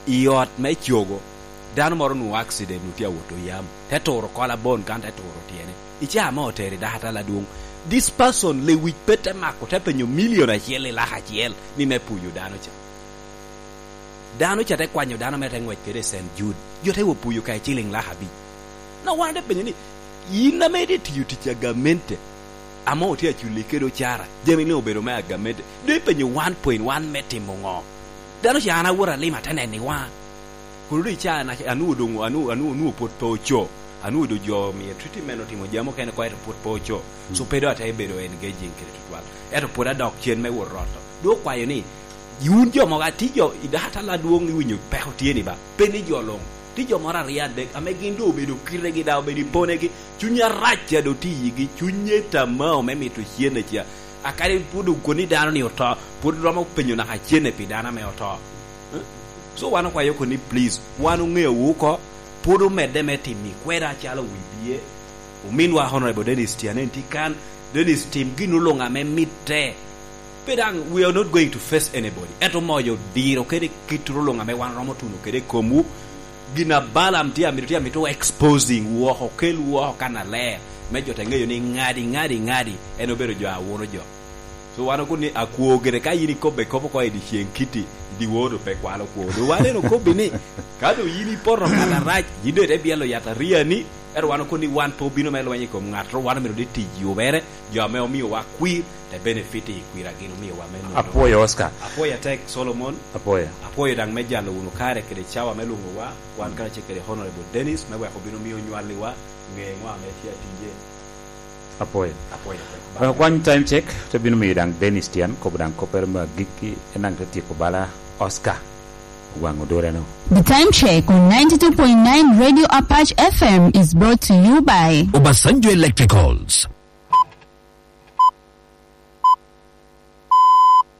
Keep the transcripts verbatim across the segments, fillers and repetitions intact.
I ot me cogo, dano moro onwoŋo accident, onwoŋo tye awot oyam, te turo kolabon kan te turo tyene. I caa ame otero i dakatal adwoŋ, this person lewic pe te mako, te penyo milion acel i lak acel ni me puyo dano ca. Dano ca te kwanyo dano mere te ngwec kede i Saint Jude, jo te wo puyo ka i ciliŋ lak abic. Na wan te penyo ni, "Yin ame itye tiyo tic a gamente, ame otye aculi kede ocara, jami ni obedo me a gamente, doŋ ipenyo one point one me timo ŋo?" Dano ca an awot alima te neno i waŋa. Kun doŋ i caa na, anwoŋo doŋ, anwoŋo, anwoŋo, anwoŋo pwod pe oco. Anwoŋo doŋ jo omio treatment, otimo jami okene oko, ento pwod pe oco. So pe doŋ ate bedo engaging kede tutwal. Ento pwod adok cen me wot roto. Doŋ okwayo ni, "Wun jo mogo, atye jo i dakatal adwoŋ, iwinyo peko tye ni ba? Pe ni jo luŋ. Tye jo moro aryo adek ame gin doŋ obedo kitegi, daŋ obedo i ponegi. Cuny arac ca doŋ tye i yigi, cunye tamao me mito cene ca. A kadi pwod okoni dano ni oto, pwod romo penyo naka cene pi dano ame oto." Eh? So wan okwayo oko ni, please, wan oŋeowu oko, pwod omedde me timo i kweda acalo wi bie. Ominwa Honorable Dennis Tianen tye kan, Dennis, tim gin oluŋ ame mitte. Pe daŋ, we are not going to face anybody. Ento moyo diro kede kit oluŋ ame wan romo tuno kede i komwu. Gin a Balaam tye amito, tye amito exposing wu oko, kel wu oko kannaler, me jo te ŋeyo ni ŋadi, ŋadi, ŋadi, en obedo jo a wuno jo. So wan okobo ni akwo gire, ka yin ikobbe kop oko i dyeceŋ kiti, i dyewor doŋ pe kwalo kwo. Doŋ wan en okobbi ni, ka doŋ yin ipoto ŋat arac, yin doŋ ite byelo yat ariani, ento wan okobo ni wan pe obino me lweny i kom ŋat, wan omito ni tic yubere, jo ame omiowa kwir, te benefit i kwir a gin omiowa me nwoŋo. Apwoyo, Oscar. Apwoyo atek, Solomon. Apwoyo. Apwoyo daŋ me jalo wunu kare kede cawa me lwoŋowa, wan karacel kede Honorable Dennis, me wek obin omio onywalliwa, ŋe ŋo ame tye atije. Apwoyo. Apwoyo. Wek okwany time check, te bino miyo daŋ Dennis Tian kobo daŋ koppere me agikki, en daŋ te tyeko bala Oscar Owaŋ Odoleno. The time check on ninety-two point nine Radio Apache F M is brought to you by Obasanjo Electricals.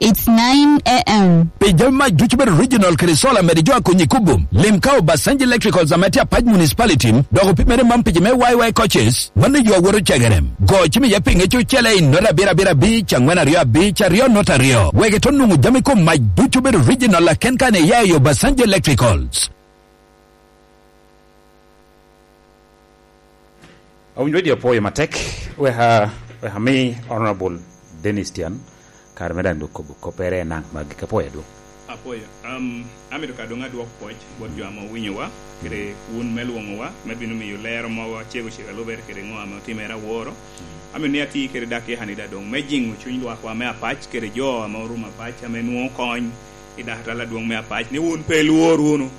It's nine a m. Pi jami mac ducu bedo original kede solar, mede jo a konyi kubo. Lim ka Obasanjo Electricals ame tye Apac Municipality, dok opimere man pi ji me Y Y coaches, mano yo a woto cegere. Go cim iye pi ŋec ocele i nota abiro abiro abic, angwen aryo abic, aryo nota aryo. Wek ito nwoŋo jami kom mac ducu bedo original, laken ka ne iya i Obasanjo Electricals. Awinyo dye apwoyo matek, wek a-, wek ami Honorable Dennis Tian, kare me daŋ dok kobo koppere naŋ magi ka pwoyo adwoŋ. Apwoyo. Um, amito ka doŋ adwok pwoc bot jo ame owinyowa, kede wun me lwoŋowa, me bino miyo lero mogo acego cego a lubere kede ŋo ame otimere aworo. Amito ni ati kede dakika ni daŋ doŋ me jiŋo cuny lwakwa me Apac kede jo ame orumo Apac ame nwoŋo kony i dakatal adwoŋ me Apac, ni wun pe ilwor wunu.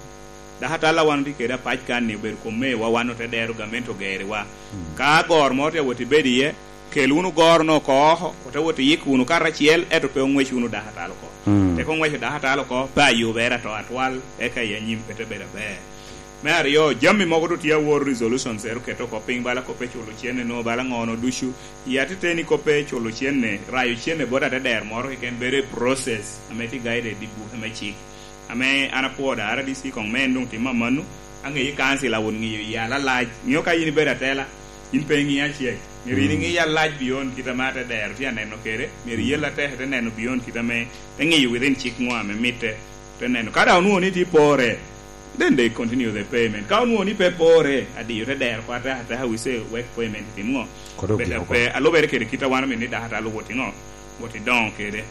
Dakatal a wan otye kede Apac kan-ni obedo kom mewa, wan ote dero gamente ogeriwa. Mm. Ka goro moro tye awot i bedo iye, kel wunu goro-nu oko oko, ote wot iyik wunu karacel, ento pe oŋwec wunu dakatal oko. Mm. Tek oŋweco dakatal oko, pe ayubere ato atwal, eka i anyim pe te bedo aber. Me aryo, jami mogo doŋ tye awor, resolutions ero oketo oko piny, bala kop pe culo cene, nwoŋo bala ŋo-nu ducu. I atiteni kop pe culo cene, rayo cene bot atedero moro keken bedo i process ame tye guided i buke me cik. Ame an apwoo da R D C koŋ me en doŋ tim amanno, aŋeyo i kancil awot ŋiyo yal alac. Ŋeo ka yin ibedo atela, yin pe iŋiyo acel. Myero yin iŋiyo alac beyond kit ame atedero tye aneno kede. Myero iyel atek ite neno beyond kit ame te ŋiyo within cik ŋo ame mitte te neno. Ka daŋ onwoŋo ni tye pore, then they continue the payment. Ka onwoŋo ni pe pore, adiyo te dero kwa ateka ateka, we say wek payment tim ŋo? Kodo obed gik oko. Pe, alubere kede kit a wan omito ni dakatal owot i ŋo? Wot i doŋo kede.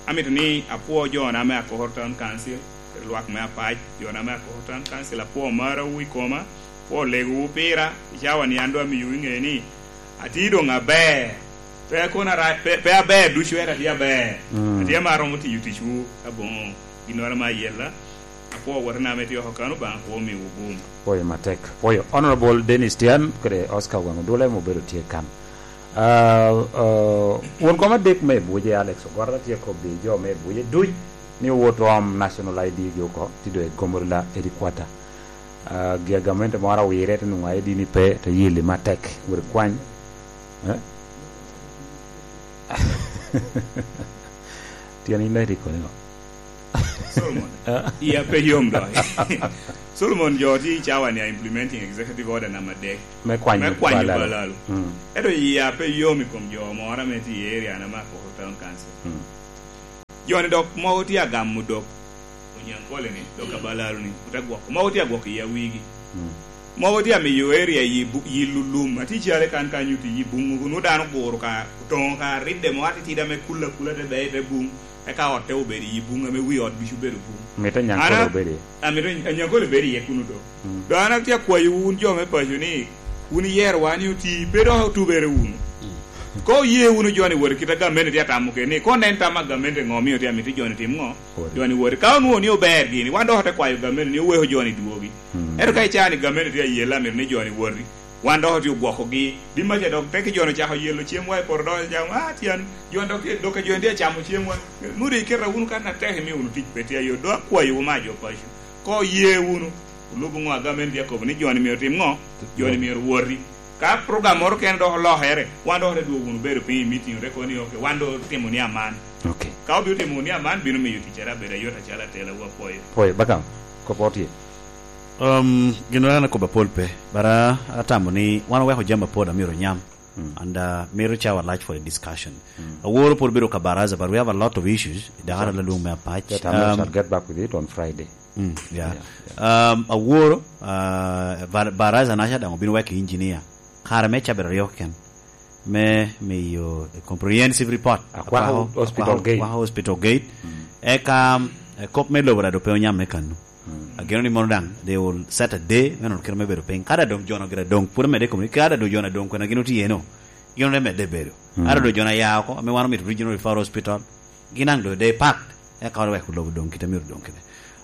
Amito ni apwo jona me Akoko Town Council, kede lwak me Apac, jona me Akoko Town Council, apwo marawu i koma, apwo legowu pira, i cawa ni an doŋ amiyowu i ŋe ni, atye doŋ aber. Pe kono ara-, pe, pe aber ducu, ento atye aber. Mm. Atye ame aromo tiyo ticwu aboŋo ginnoro ame ayella. Apwoo wotena ame tye oko kan, Obaŋa kwo omiwu gum. Pwoyo matek. Pwoyo Honorable Dennis Tian kede Oscar Owaŋ Odole ame obedo tye kan. Ah, ah, won kom adek me Ebuje, Alex Ogwara, tye kobbi jo me Ebuje duc ni owot oom National I D gi oko, tye doŋ i Gomorila headquarter. Ah, gi a gamente moro awire, te nwoŋo I D ni pe, te yeli matek, wot ikwany. Eh? Tyen in daŋ itye koni ŋo? Solomon, ah, iya pe yom doŋ. Solomon, jo tye i cawa ni a implementing executive order number adek. Me kwanyo, me kwanyo balalo. Balalo. Mm. Ento iya pe yom i kom jo moro ame tye i area na me Akoko Town Council. Mm. Jo-ni dok mogo tye agamo dok. Nyankole ni, dok abalaro ni, ote gwoko. Mogo tye agwoko i awigi. Mm. Mogo tye amiyo area yi bu-, yi lulum. Ati cale kan kanyo ti yi bungu, nu dano guro ka, otongo ka ridde mo atitida me kula kula te beye te bung. Eka ot te obedo i bung ame wi ot ducu obedo bung. Mito Nyankole Ana-, obedi. Amito Nyankole bedo iye kunu do. Mm. Do an atye akwayo wun jo me paco ni, wun iyero wa ni oti, pe dok otubere wunu. Mm. Ko oye wunu jo ni wot kit a gamente tye atamo kede ni, ko nen tam a gamente ŋo omio tye amito jo ni tim ŋo? Wot. Jo ni wot. Ka onwoŋo ni ober gini, wan dok ote kwayo gamente ni oweko jo ni dwogi. Mm. Ento ka icaa ni gamente tye ayelle amito ni jo ni woti, wan dok otye ogwokogi. Di maca dok teke jo ni ocako yelo cemwa i poto dok ocamo, "Ah, tyen, jo ni dok tye, dok jo ni tye acamo cemwa." Nwoŋo doŋ iketa wunu kan atek imio wunu tic pe tye ayot. Dok akwayo wu ma jo paco. Ko oye wunu, olubo ŋo a gamente tye akobo ni jo ni myero otim ŋo? Jo ni myero woti. Ka program moro kene dok olokere, wan dok ote dwogo wunu bedo piny i meeting, ote kobo ni, "Ok, wan dok otimo ni aman." Ok. Ka obino timo ni aman, bino miyo ticcere abedo ayot acalo atela wa pwoyo. Pwoyo, Bakam, kop otye. Um, gin an akobo apol pe, but, uh, atamo ni wan oweko jami apol amyero onyam. Mm. And, uh, mito cawa lac for a discussion. Mm. Aworo pwod bedo ka baraza, but we have a lot of issues. Dakara Exactly. lalung me apac. That I Um, shall get back with it on Friday. Mm, yeah. Yeah, yeah. Um, aworo, uh, bar-, baraza naca daŋ obino weko engineer. Kare me cabit aryo keken. Me miyo comprehensive report. Akwako Akwako, hospital akwako, gate. Akwako hospital gate. Mm. Eka, um, eh, kop me lobo daŋ doŋ pe onyam me kano. Mm. Ageno ni mono daŋ, they will set a day, me nono kite me bedo piny. Kada doŋ jo-nu gira doŋ, pwod omedde i kom ni, kada doŋ jo-nu doŋ, kwena gin otye eno, gin ote medde bedo. Mm. Kada doŋ jo-nu aya oko, ame wan omito regional referral hospital, gin daŋ doŋ day packed, eka wek lobo doŋ kite myero doŋ kite.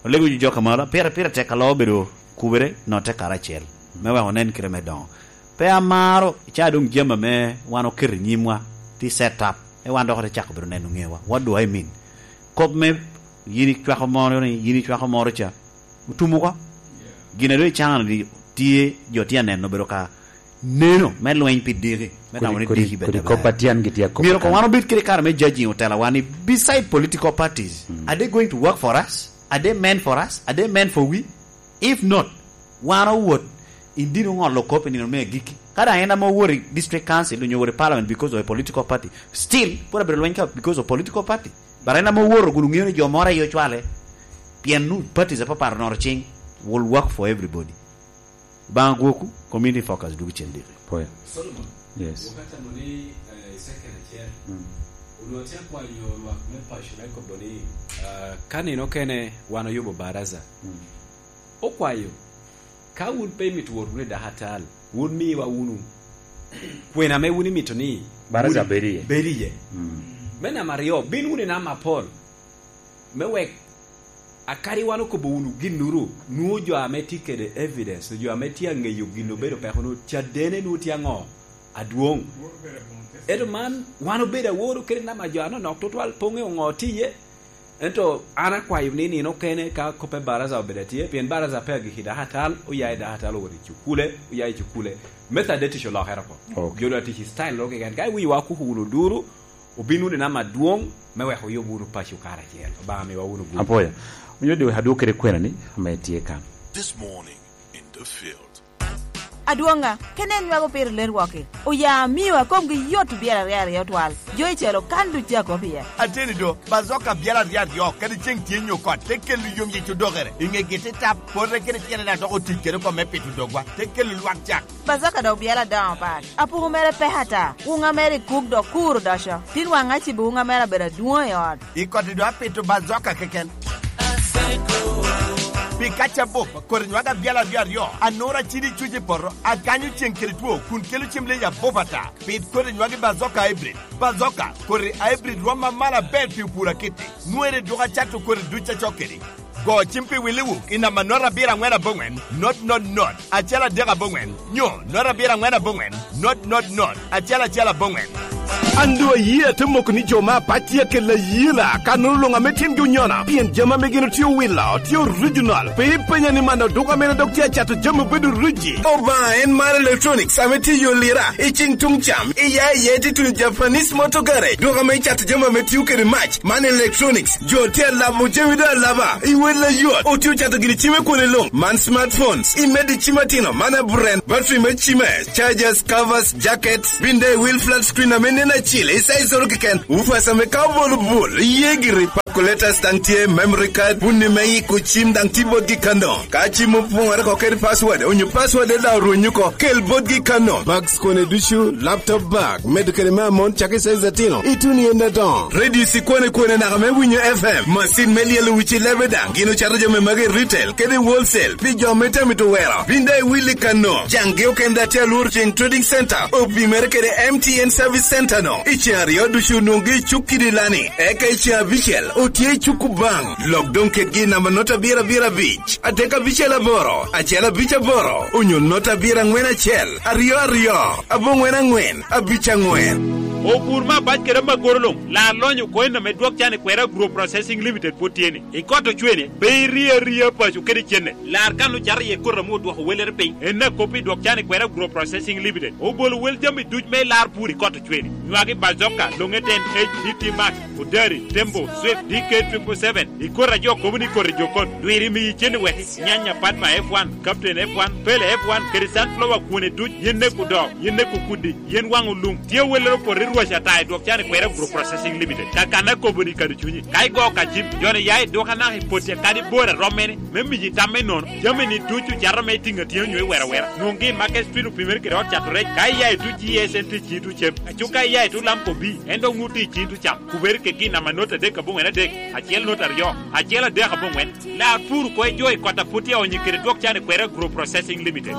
Olego jo ka malo, pire, pire tek alo bedo kubere, no tek karacel, me wek onen kite me doŋo. Pe amaro, ca doŋ jami ame wan oketo i nyimwa, ti set up, e wan dok ote cako bedo neno ŋewa. What do I mean? Kop me yin icwako moro ni, yin icwako moro ca, otum oko. Gin a doŋ icano ni tye, jo tye aneno obedo ka neno me lweny pi diki, me Kodi, tamo ni kodi, diki bed kodi aber. Kop a tyen gi tye akop Myero kan. Wan obed kede kare me judging otelawa ni beside political parties, Mm. are they going to work for us? Are they meant for us? Are they meant for we? If not, wan owot, indino ŋolo kop i nino me agikki. Ka daŋ en ame owot i district council, onyo owot i parliament because of a political party, still, pwod abedo lweny ka because of political party. But en ame owot, kun oŋeo ni jo moro aye ocwale, pien nu parties apapat onoro cing, will work for everybody. Baŋ agwokwu, community focus, duk cen diki. Pwoyo. Solomon, Yes. Wakati amo ni, eh, i second acel, Mm. onwoŋo tye akwanyo lwak me paco me kobo ni, ah, ka nino kene wan oyubo baraza. Mm. Okwayo, ka wun pe imito wot wunu i dakatal, wun miwa wunu kwena ame wun imito ni Baraza wun bed iye. Bed iye. Mm. Me namba aryo, bin wunu i namba apol. Me wek akadi wan okobo wunu ginnuru, nwoŋo jo ame tye kede evidence, jo ame tye aŋeyo gin obedo peko, nwoŋo cadene nwoŋo tye aŋo? Adwoŋ. Ento man, wan obedo aworo kede namba jo anonok tutwal, pe oŋeo ŋo tye iye. Ento an akwayo ni nino kene ka kop me baraza obedo atye, pien baraza pe agikki dakatal, oya i dakatal owot i cukule, oya i cukule. Me Thade tic olokere oko. Ok. Jo doŋ atic i style ro keken. Ka iwinyo wa kuku wunu duru, obin wunu i namba adwoŋ, me wek oyub wunu paco karacel. Obaŋa miwa wunu gudo. Apoya. Onyo di wek adwog kede kwena ni, ame tye kan. This morning in the field. Adwoŋa, kene en nywako pire ler wok-ki. Oya amiwa komgi yot byel aryo aryo twal. Jo i celo kan duc tye akop iye. Ateni do, bazoka byel aryo aryo, kadi ceŋ tye nyo kot, te kelo yom yic odokere. I ŋe giti tap, pote kede tyene na dok otic kede oko me pito dogwa, te kelo lwak cak. Bazoka dok byel adoŋo pat. Apuku mere pek ata. Wuŋa mere i kuk dok kur odoco. Tin waŋ acibo wuŋa mere abedo adwoŋ i ot. I koti do apito bazoka keken. Pi kaca bup, koti nywagi abyal aryo aryo, anura cidi cuc i poto, akanyo ceŋ kede two, kun kelo cem leja bup ata. Pit koti nywagi bazoka hybrid. Bazoka, koti hybrid rwom ma malo aber pi opur akitti. Nwere dwogo acato koti duc acok kedi. Go cim pi Willi Wuk i namba not abiro aŋwen aboŋwen, not not not, acel adek aboŋwen, nyo not abiro aŋwen aboŋwen, not not not, acel acel aboŋwen. An doŋ ayie ate moko ni jo me apac tye akelo ayela, ka nwoŋo luŋ ame tyengi onyono, pien jami ame gin otye owilo, tye original. Pe ipenya ni man odoko amene dok tye acato jami obedo ruji. Obaŋa en mar electronics ame tye i yo lira, i cing tuŋ cam, i ya iye tye tuno Japanese Motor Garage, dok ame icato jami ame tio kede mac. Man electronics, jo tye alabo jami doŋ alaba, i wel ayot, otye ocato gini cim i kwone luŋ, man smartphones, i medo i cim atino, man a brand, battery me cime, chargers, covers, jackets, binde wheel flat screen ame nen acil, i size oro keken, woofers ame ka obolo bul, iye giri. Calculators daŋ tye, memory card, wun ni me yiko cim daŋ tye botgi kano. Ka cim opoŋere oko kede password, onyo password daŋ orwenyo oko, kel botgi kano. Bags kone ducu, laptop bag, medo kede me amon cakki size atino, ituno i en adoŋo. Radio ikwane kwane naka me winyo F M, macin me lyelo wic i lebe daŋ, gin ocato jami magi i retail kede i wholesale, pi jo me tamito wero. Bin daŋ iwilli kano, caŋgi okene daŋ tye alworo ceŋ Trading Center, opimere kede M T N Service Center no. I ceŋ aryo ducu nwoŋgi i cuk kidi lani, eka i ceŋ abicel otye i cuk Kubaŋ. Lok doŋ kedgi i namba nota abiro abiro abic, adek abicel aboro, acel abic aboro, onyo nota abiro aŋwen acel, aryo aryo, aboŋwen aŋwen, abic aŋwen. Opur me abac kede amagoro luŋ, lar lonyo oko en ame dwok can i kwera Agro Processing Limited pwod tye ni. I kot ocwene, pe iri aria paco kede cene. Lar kan ocato iye koti ame odwoko wellere piny. En akop i dwok can i kwera Agro Processing Limited. Obolo wel jami duc me lar pur i kot ocwene. Nywagi bazoka, longe ten H D T Max, Odari, Tembo, Swift, D K triple seven. I koti a jo kobo ni koti jokon. Dwiri miyi cene weki. Nyanya Padma F one, Captain F one, Pele F one, kede sunflower kwone duc, yen nek odoo, yen nek okudi, yen waŋ olum. Tye wellere opoto i rwac ata i dwok can i kwera Agro Processing Limited. Kakana kobo ni kadi cunyi. Ka igo ka cim, joni ya i dwok anaka i poti kadi bor a rom mene, me miyi tam me nono. Jami ni ducu cato me tiŋ atyeŋ onyo i wera wera. Nwoŋgi i Market Street opimere kede ot cato rec. Ka iya i tuc G S N T cito cem. Aco ka iya i tuc Lamco B, en dok nwoŋo tye i cito cam. Kubere kegi i namba nota adek aboŋwen adek, acel nota aryo, acel adek aboŋwen. Lar pur oko i jo i kot a pwod tye aonyo kede dwok can i kwera Agro Processing Limited.